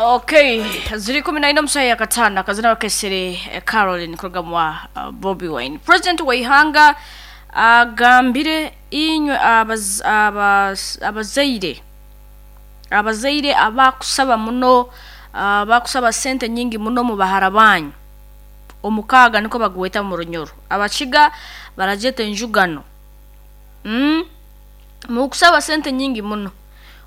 Okay, ziri 14 omusaha ya katano akazina bakesere Caroline kuruga mwa Bobi Wine. President w'ihanga agambire inywe abazaire abakusaba muno, abakusaba sente nyingi muno mu bahara banyu omukaaga niko bagweta mu runyoro, abakiga barajeta enjugano. Mukusaba sente nyingi muno,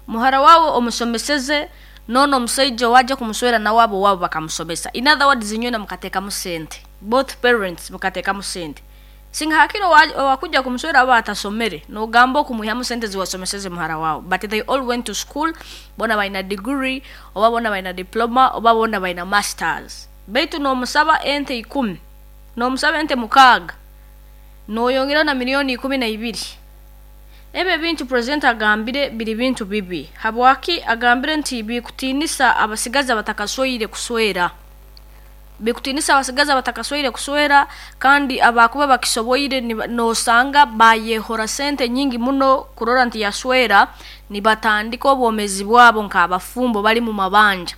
muhara wawe omusomeseze nono omusaija owaja kumuswera nawe abo wabo bakamusomesa. In other words, inywena mukateekamu sente, both parents mukateekamu sente. Singa hakiro owakuja kumuswera aba atasomere nogamba okumwihamu sente ziwasomeseze muhara wawe, but they all went to school, bona balina degree oba bona balina diploma oba bona balina masters. Baitu nomusaba ente 10, nomusaba ente 6, noyongera na milioni 12. Ebyo ebintu president agambire biri bintu bibi. Habwaki agambire nti bikutinisa abasigazi abatakasoire kuswera, bikutinisa abasigazi abatakasoire kuswera, kandi abakuba bakisoboire nosanga bayehora sente nyingi muno kurora nti yaswera, nibatandika obwomezi bwabo nk'abafumbo bali mu mabanja.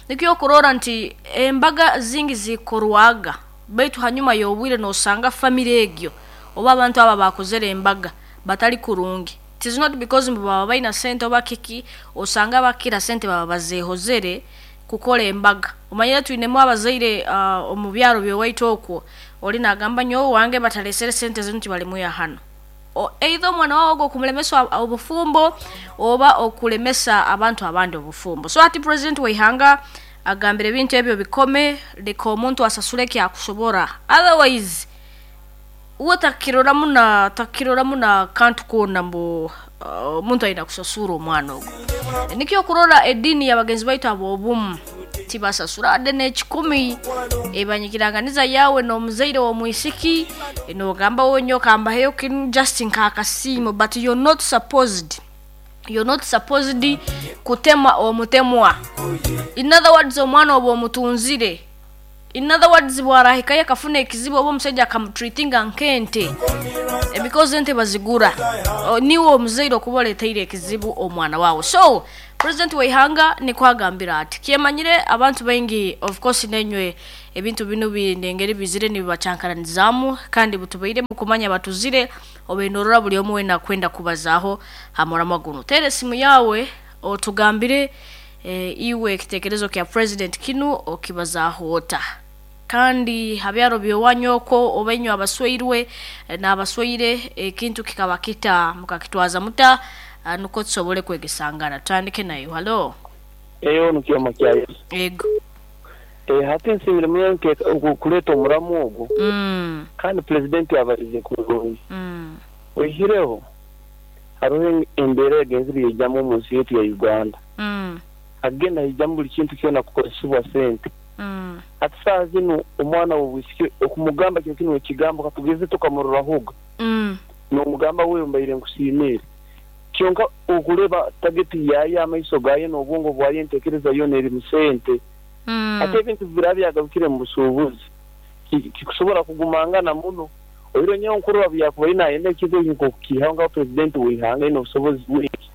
Nikyo kurora nti embaga zingi zikorwaga, baitu hanyuma y'obwire nosanga family egyo oba abantu aba bakozere embaga batali kurungi. It is not because mbu baba balina sente oba kiki, osanga bakira sente baba bazehozere kukora embaga. Omanyire twinemu abazaire omu byaro byowaitu okwo, oli nagamba nyowe wange batalesere sente zinu tibalimuya hano. Either omwana wawe ogwo okumulemesa obufumbo oba okulemesa abantu abandi obufumbo. So ati president w'ihanga agambire ebintu ebyo bikome, leka omuntu asasule ekyakusobora, otherwise uwe takiroramu na kantu koona mbu omuntu aina kusasura omwana ogwo. Nikyo kurora edini y'abagenzi baitu ab'obumu tibasasura ade n'ekikumi, ebanyikiranganiza yawe n'omuzaire w'omwisiki, nogamba wowe nyowe kambaheyo kinu just nk'akasiimo, but you're not supposed kutema omutemwa. In other words, omwana oba omutunzire. In other words, bwarahikayo akafuna ekizibu oba omusajja akamutreatinga nk'ente, because ente bazigura, niwe omuzaire okuba oleteire ekizibu omwana wawe. So president w'ihanga nikwo agambira ati kyemanyire abantu baingi, of course nenywe ebintu binu binengeri bizire nibibachankaranizaamu, kandi butubaire mukumanya batuzire obenorora buli omwe wena kwenda kubazaho hamuramwa guno. Tere esimu yawe otugambire iwe ekitekerezo kya president kinu okibazaho ota, kandi habyaro byowanyu okwo oba inywe abasweirwe n'abasweire ekintu kikaba kita mukakitwaza muta, nuko tusobole kwegesangana. Tutandike nayo. Halo. Eyo nikyoma kya Yesu. Ego. Hati nsiimire munonga kuleta omuramu ogwo, kandi pulezidenti abalize kurungi. Oihireho hariho embeera egenzire yaijamu omu nsi yaitu ya Uganda. Hagenda haijamu buli kintu kyona kukozesibwa sente. Hati saaha zinu omwana w'obwisiki okumugamba kiro kinu ekigambo katugeze tukamururahoga, n'omugamba wewe mbaire nkusiimire. Kyonka okureba tageti yayo, amaiso gayo n'obwongo bwayo, entekereza yoona eri mu sente. Ate ebintu biraba byagarukire mu busuubuzi, kikusobora kugumangana muno. Oiro nyowe nkurora byakubaire nayenda ekintu eki nk'okukiihaho nka pulezidenti w'ihanga aine obusobozi bwingi.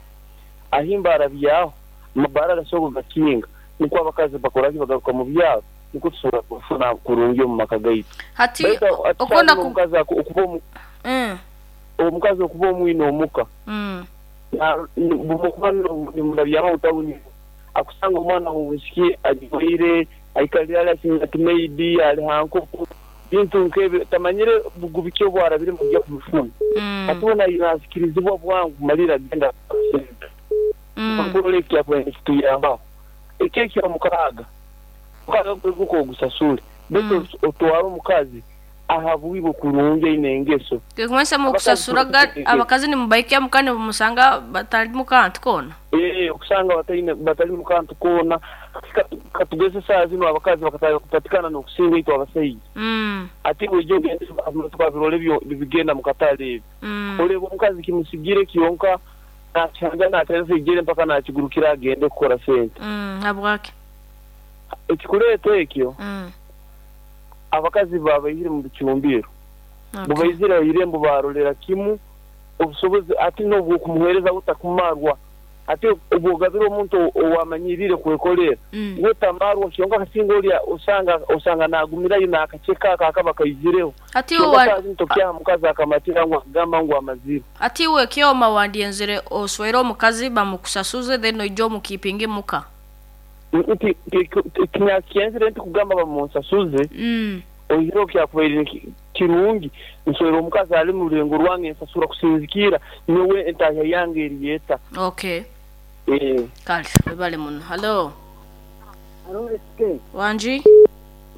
Ahimba arabyaho, amabaara agasoboka kugakinga, nukwo abakazi bakoraki bagaruka mu byaro, nukwo tusobora kufuna kurungi omu maka gaitu. Hati Baitu okubona omukazi okuba omwine omuka, bumukuba nimurabyaho tawuni, akusanga omwana w'obwisiki ajwaire, aikalire ali ati maidi, ali ha nkoko, bintu nk'ebyo, tamanyire bugubi ki obu arabiremu kujya kubifuna. Hati we nasikirizibwa bwangu kumalira agenda sente. Nkurora ekyakubaire nikituyambaho. Eki eky'omukaaga, omukaaga gwe ogusasule, baitu otware omukazi ahabwibwe kurungi aine engeso. Kumanyisa mukusasuraga abakazi nimubaikya muka nimumusanga batali mukantu koona. Okusanga batali mukantu koona. Katugeze saaha zinu abakazi bakatandika kupatikana n'okusinga itwe abasaija. Ati oija ogende tukabirora ebyo nibigenda mu katale ebyo. Oreeba omukazi kimusigire kyonka nakihanga natereza ijere mpaka nakigurukira agende kukora sente. Habwaki? Ekikuleeta ekyo, abakazi babaihire mu bicumbiro. Bubaizire ha irembo barolera kimu obusobozi ati n'obwokumuheereza butakumarwa. Ate obwogabira omuntu owamanyirire kwekolera, we tamarwa, kyonka kasinga olya osanga nagumirayo n'akaceka ako akaba kaizireho. Kyonka saaha zinu tokyaha mukazi akamatira ngu akugamba ngu amazire. Hati iwe Kyoma wandyenzere oswere omukazi bamukusasuze then oije omukipinge muka? Tinyakukyenzire nti kugamba bamunsasuze, oihireho kyakubaire kirungi nswere omukazi ali mu rulengo rwange nsasura kusinzikirra nyowe entahya yange eri eta. Okay. Kale webale muno. Hallo. Halo SK. Wangi.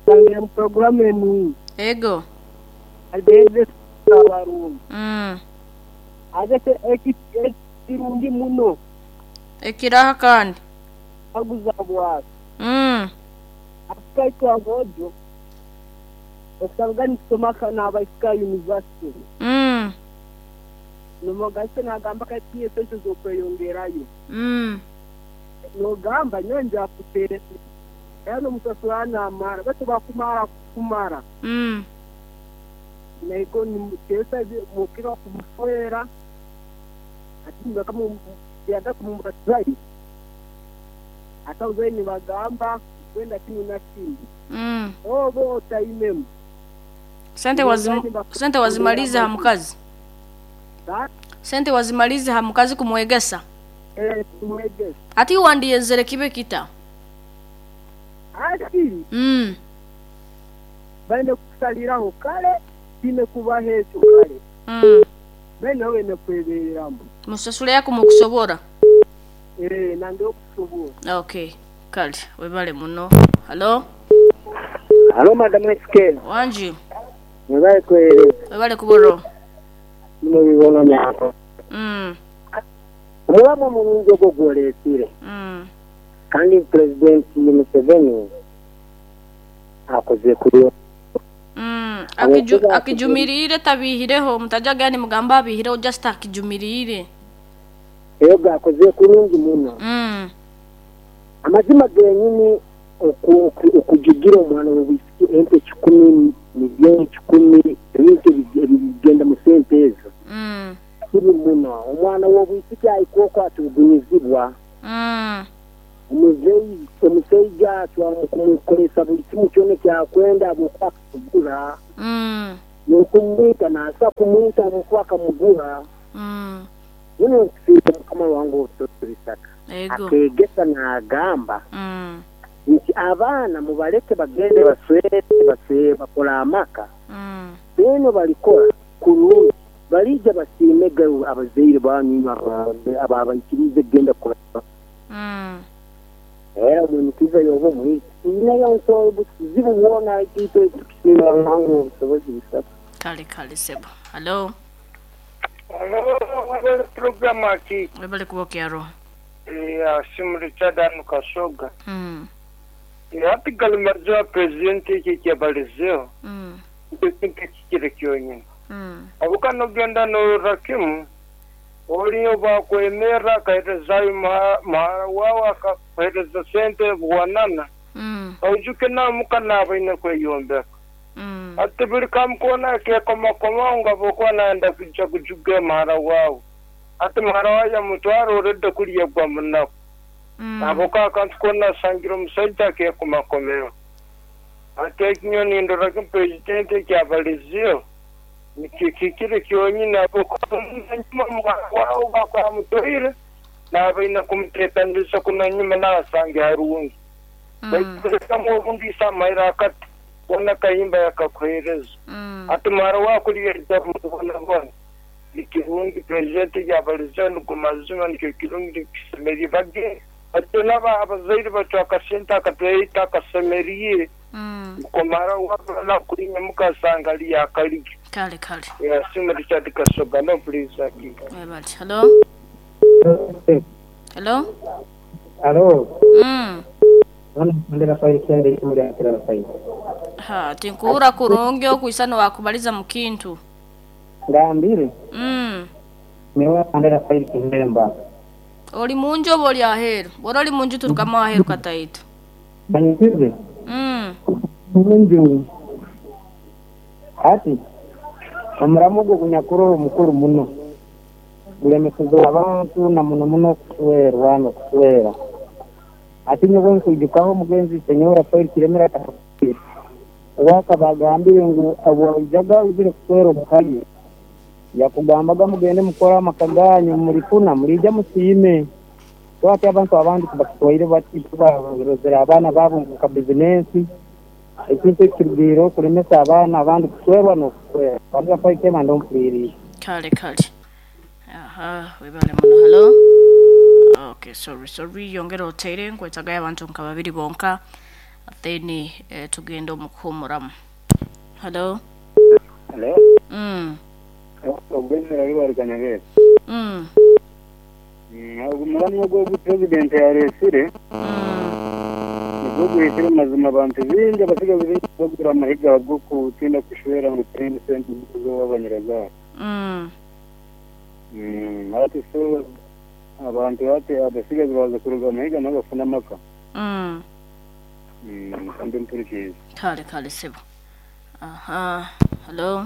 Kusangire mu puroguramu enungi. Ego. Agenze abarungi. Aze ekirungi muno. Ekiraha kandi. Aguza bwaki. Afrika itwe aboojo okusanga nitusoma n'abaisiki university. Nomogase nagamba kati esente z'okweyongerayo. Nogamba nyowe njakutereza era nomusasura namara baitu bakumara kumara. Naiko nimutesa mukira kumuswera ati nibakamu kumubatizayo. Ate nibagamba kwenda kinu na kinu. Obo otaimemu. Sente wazimalize ha mukazi? Sente wazimalize ha mukazi kumwegesa? Kumwegesa. Ati wandiyenzere kibe kita? Ati. Baine kusaliraho kale kine kubaho ekyo kale. Baine wene kwebereramu. Musasule yako mukusobora? Nange okusobora. Okay. Kale webale muno. Hallo. Hallo Madam SK. Wangi. Webale kuwereza. Webale kuboro. Bino bibono nyako. Omulamu omulungi ogwo gwolesire. Kandi President Museveni akoze kuyo. Akijumirire tabihireho mutajaga ni mugamba abihireho just akijumirire. Eyo akoze kurungi muno. Amazima genyini okujugira omwana w'obwisiki ente 10 milioni 10 ebintu ebigenda mu sente ezo. Kibi muno omwana w'obwisiki aikoko atugunyizibwa. Omuzeyi atwamukumukolesa buli kimu kyona kyakwenda abuka kugura. N'okumwita nasa kumwita abuka akamugura. Muno nkusiima Mukama wange obutosobisaka. Akegesa n'agamba nti abaana mubaleke bagende baswere bakola amaka. Beno balikora kurungi balija basiimege abazaire banyu ababaikirize kugenda kukora. Era omunikiza yoba omwisi inayo nsobola buzibu bwona itwe tukusiima Ruhanga obusobozi busatu. Kale kale sebo. Hello. Hello, wabale programu aki. Wabale kubokya roho. Simu Richard anu Kasoga. Hati galimazoa presidenti iki kyabalizeo. Nkintu kikire kyonyine. Abuka nogenda norakimu oliyo bakwemera akaherezayo muhara wawe akakuhereza sente bwanana. Ojuke namuka nabaine kweyombeka. Ati buli kamukona akekomakoma nga bokuba naenda kuja kujuga muhara wawe. Ati muhara wawe yamutwara oredde kulya gwa munaku. Aboka akantu kona asangira omusaija akekomakomero. Ati ekinyoni ndorako presidenti ekyabalizeo nikikikire kyonyine abokunyuma muhara wawe bakwamutoire nabaine kumuteekaniriza kunanyuma nasange harungi. Baitu obundi amaira akati bona kayimba yakakuhereza. Ati muhara wakulya mubonabona. Nikirungi presidenti yabalizeo nigumazima nikyo kirungi kisemeriire bagende. Ati naba abazaire batwa akasente akatweita akasemeriire. Kumara wabala kulinya mukasanga liya akaligi. Kale kale. Ya simu Richard Kasoga no please aki. Webale. Hello. Hello. Hello. Ndera faili kende kimuli akira faili. Ha, tinkura kurungi okuisano wakubaliza mukintu. Ngambire. Mewa ndera faili kindemba. Oli munju oba oli aheru? Bora oli munju turukama aheru kataitu. Banyikize. Munju. Ati omuramu ogwo gunyakuru omukuru muno. Gulemeseze abantu na muno muno kuswerwa n'okuswera. Ati nyowe nkwijukaho omugenzi Senyor Rafael Kiremera owakaba agambire ngu obwaijaga oizire kuswera omukaye yakugambaga mugende mukore amaka ganyu murifuna murija musiime. So ati abantu abandi tibakitwaire bati, barozere abaana baabo nka bizinensi. Ekintu ekirugire okulemesa abaana abandi kuswerwa n'okuswera. Rafael Kiremera ndompuliriire. Kale kale. Aha, webale muno. Hello. Okay, sorry, sorry. Yongera oteire nkwetagayo abantu nka babiri bonka, then tugenda omukuhumuramu. Hello. Hello. Ogwezera bari Kanyabera. Ogumuramo ogwo president yaresire. Nibwo guhitire mazima abantu bingi abasigazi bingi bagura amahiga go kutinda kushwera ngo turinde sente zo abanyiraza. Ati so abantu ati abasigazi baza kuruga amahiga n'abafuna amaka. Kandi mpurikiza. Kale kale sebo. Aha, hello.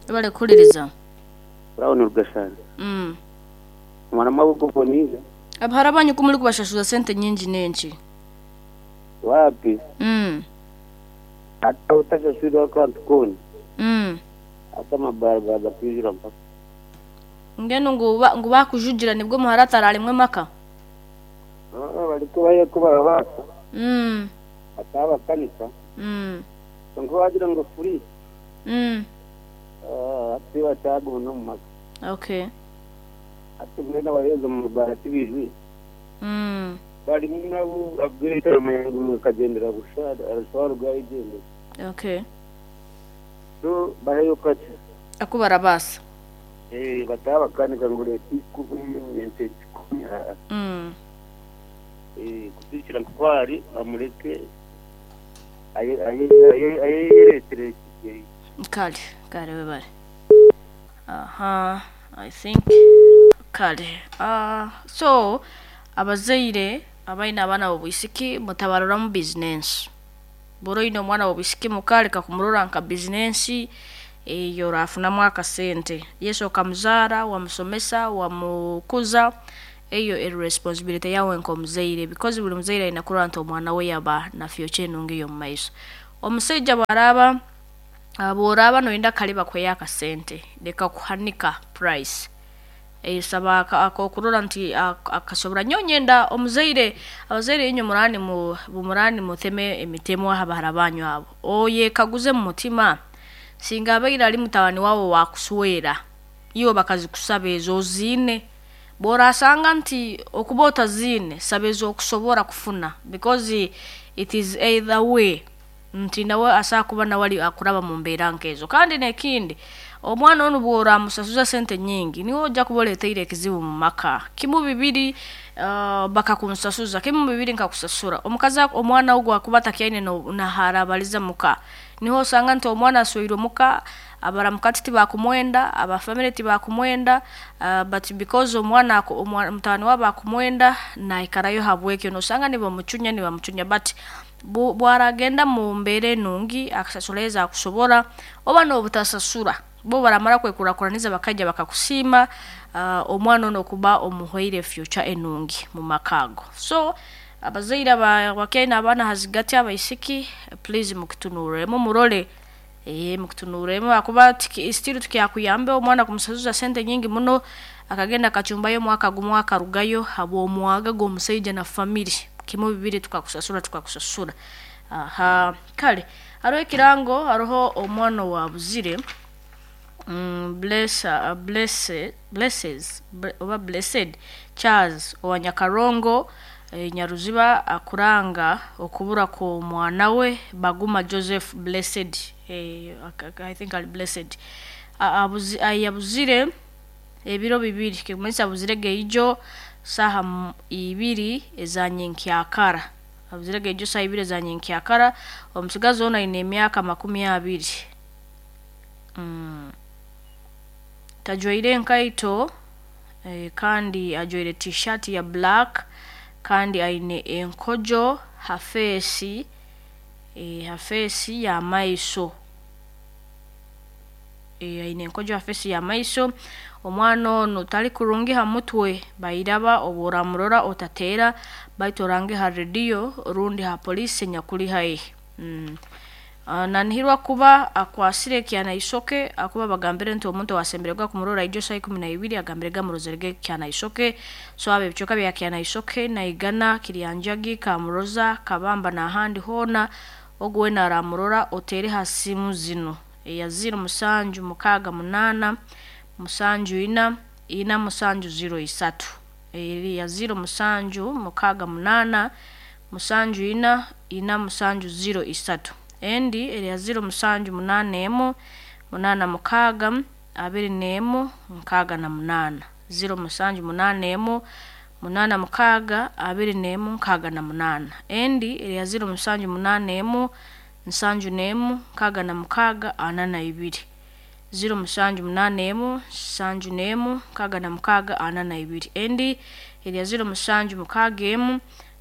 Bale kuliriza. Brown Rugashana. Mwana maboko bonize. Abahara banyu kumuli kubashashuza sente nyingi nenki. Wapi? Ata utashashura akantu koni. Ata mabarga gakwijura mpaka. Ngeno ngu bakujugira nibwo muhara atararimwe maka. Bali kubaye kuba baka. Ataba kanisa. Ngo wagira ngo free. Ati batago no maka. Okay. Ati mwena bareza mu barati bijwi. Bari nabo abwira mu kagendera gushara arashobora rwayigendera. Okay. So baheyo kati. Akubara basa. Bataba kanika ngo leti kubiyente. Kutikira kwari amureke aye aye aye. Kale kale webale. Aha, I think kale. So abazaire abaina abaana b'obwisiki mutabarora mu business. Boro ino omwana w'obwisiki mukaleka kumurora nka business eyo rafunamu akasente. Yesu okamuzara, wamusomesa, wamukuza, eyo irresponsibility yawe nkomuzaire, because buli muzaire ayina kurora nti omwana we yaba na future enungi yo mumaiso. Omusajja bwaraba bworaba noyenda kaliba kweya akasente, leka kuhanika price. Saba akokurora nti akasobora nyonyenda omuzaire abazaire inyo murani mu bumurani mutheme emitemo abahara banyu abo. Oye kaguze mu mutima singa abaira ali mutabani wawo wakuswera iyo bakazikusaba ezo zine bora asanga nti okubota zine sabezo okusobora kufuna, because it is either way nti nawe asakuba nawali akuraba mu mbeera nkezo. Kandi nekindi omwana ono bwora musasuza sente nyingi niwo ojja kuboleteire ekizibu mu maka. Kimu bibiri bakakumusasuza, kimu bibiri nkakusasura omukazi omwana ogwo akuba takyaine no naharabaliza muka. Niho osanga nti omwana aswirwe muka, abaramukati tibakumwenda, abafamily tibakumwenda, but because omwana mutano waba akumwenda naikarayo habwekyo nosanga nibamuchunya nibamuchunya, but bwaragenda mu mbeere nungi akasasuleza akusobora oba n'obutasasura bo baramara kwekurakuraniza bakajja bakakusima, omwana ono kuba omuhweire future enungi mu makago. So abazaire abakena abaana hazigati abaisiki, please mukitunuremo murole mukitunuremo akuba still tukyakuyambe omwana kumusasuza sente nyingi muno akagenda kachumbayo mwaka gumu akarugayo habw'omwaga gw'omusajja na family. Kimu bibiri tukakusasura tukakusasura. Aha, kale hariho ekirango, hariho omwana wa buzire blessed Charles owa Nyakarongo Nyaruziba akuranga okubura ko mwana we Baguma Joseph Blessed, I think ali Blessed ayabuzire ebiro bibiri kikumanyisa abuzire geijo saha ibiri ezanyenkyakara, abuzire geijo saha ibiri ezanyenkyakara. Omusigazi ono ayine emyaka 20. Tajwaire enkaito, kandi ajwaire t-shirt ya black, kandi aine enkojo hafeesi, hafeesi ya maiso. Aine enkojo ha fesi y'amaiso. Omwana onu tali kurungi ha mutwe, bairaba obu oramurora otateera, baitu orange ha rediyo rundi ha poliisi enyakuli haihi. Nanihirwa kuba akwasire Kyanaisoke, akuba bagambire nti omuntu owasembererwa kumurora ijo saa 12 agambire gamurozerege Kyanaisoke. So abo ebicweka bya Kyanaisoke, Naigana, Kiryanjagi, Kamuroza, Kabamba n'ahandi hoona, ogu weena aramurora oteere ha simu zinu: eya 0768 74 4703, eri ya 0768 74 4703, endi eri ya 0781 86 21 68, 0781 86 21 68, endi eri ya 0781 71 66 42, 0781 71 66 42, endi eri ya 0761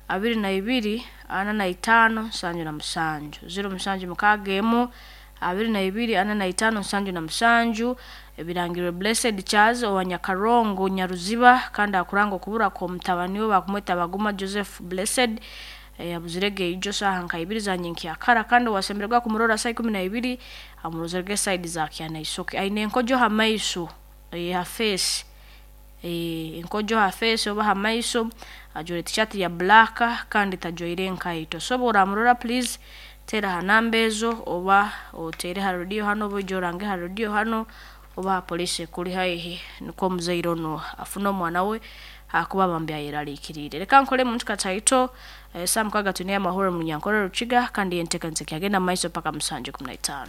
22 45 77, 0761 22 45 77. Ebirangirwe Blessed Charles owa Nyakarongo Nyaruziba, kandi akuranga okubura kw'omutabani we bakumweta Baguma Joseph Blessed, yabuzirege ijo saaha nka ibiri za nyenkyakara, kandi owasembererwa kumurora saa 12 amurozerege side za Kyanaisoke. Aine enkojo ha maiso, ha face, enkojo ha face oba ha maiso, ajwaire t-shirt ya black kandi tajwaire enkaito. So obu oramurora please teera ha namba ezo, oba oteere ha rediyo hanu, oba oije orange ha rediyo hanu, oba ha poliisi ekuli haihi, nukwo omuzaire onu afune omwana we hakuba bambi ayeraliikiriire. Leka nkole muntu kataito, saa 6 twine amahoro mu Nyankore Rukiga, kandi enteekaniza ekyagenda mu maiso paka 7:15.